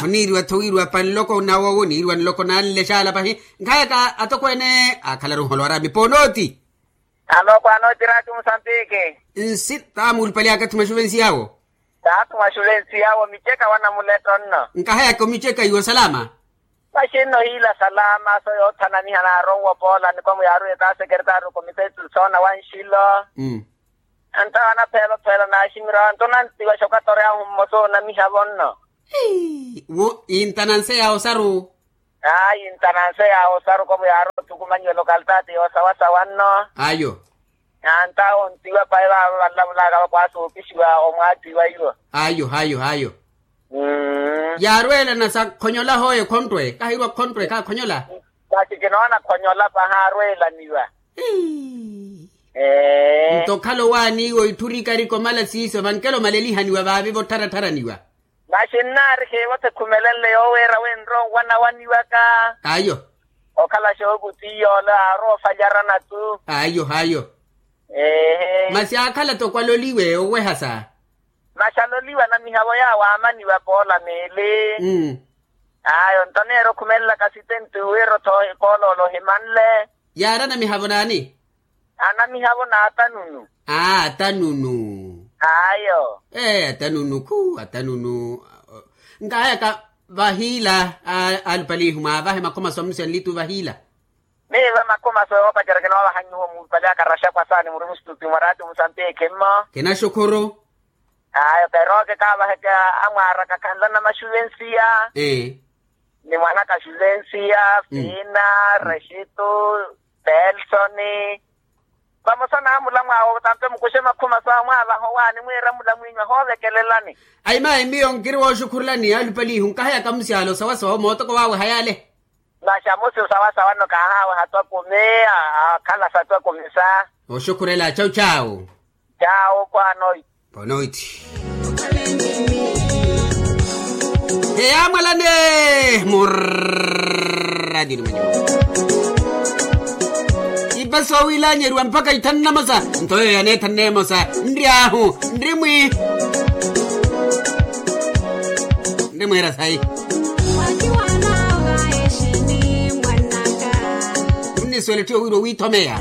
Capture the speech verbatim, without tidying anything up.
Oniiriwa-tho wiiriwa pa nloko nawowo oniiriwa nloko nanle xaala pahi. Nkhayaka atokweene akhalaru nholowara miponooti. Alo kwanooti raati musantiki. Nsi taamulupali akathi mwaxuvensi yawo. Taathu mwaxuvensi yawo miceka wanamuletto nno. Nkahayaka omiceka iwo salama. Maxinno hiila salama so yoothanamiha naaronwa opoola nikomu yaaruwe kaasekeretaari okomite soona wa nxilo. Antawa anapheela opheela naaximirya nto nantiwa xokatoreyahu mmosa onamiha vonno. Wo intananse ya osaru. Ayi intananse ya osaru komu yaari othukumanyiwa lokalitaati yoosawasawa nno. Ayo. Antawa ontiwa payi vaavo vanlavulaka vakwaasa opixiwa omwaatiwa iwo. Ayo ayo ayo. Yaarweelana sa khonyola hooyo khonttwe kahiirwa khonttwe kaakhonyola. Masi kinoona khonyola pahaarweelaniwa. Nto okhala owaaniiwa oitthurikari komala siiso vankela omalelihaniwa vaavi vottharatharaniwa. Masi nnaari khiivo-tho ekhumelenle yooweera wenre onwanawaniwaka. Ayo. Okhala xookuti iy'ole aarowa ofalyaranatu. Ayo ayo. Masi aakhala-tho okwaloliwe owehasa. Masi aloliwe anamihavo yaawo aamaniwa poola meeli. Ayo nto neera okhumelelaka sitenti wira-tho epooloola ohimanle. Yaari anamihavo naani? Anamihavo n'atanunu. Aa atanunu. Ayo. Ee atanunu khu atanunu. Nkahayaka vahiila. Alupalihu mwaavahe makhomaso amusi anlitu vahiila. Miiva makhomaso yoopacerya kinoovaha nyuwo muupali akaraxakwa saani muri musituti mwa raati musanti ekhimmo. Kinaxukhuru. Ayo peroke kaavaheke amwaaraka khanlana maxuvensiya. Ni mwanaka xuvensiya fina, rexito, pelsoni. Vamosa naamula mwaawo tanto mukuxe makhuma sawo mwaavaha owaani mwiira mula mwiinyu ahoovekelelani. Ayi mayi miyo nkiri wooxukhurelani alupalihu nkahayaka musi ale osawasawa omootoko waaweha yaale. Masi amusi osawasawa nno kaahaaweha twa kumi. Akhala sa twa kumi sa. Oxukhurela chawu chawu. Chawu kwanoiti. Bonoiti. Eyaamwalane murradioni mwenyu. Ipa soowilanyeriwa mpakha ithanu namosa. Nto yoyo yaneethanne emosa nri ahu nri mwi. Nri mwiira sayi. Munnisuwela etthu yowiira owiithomeya.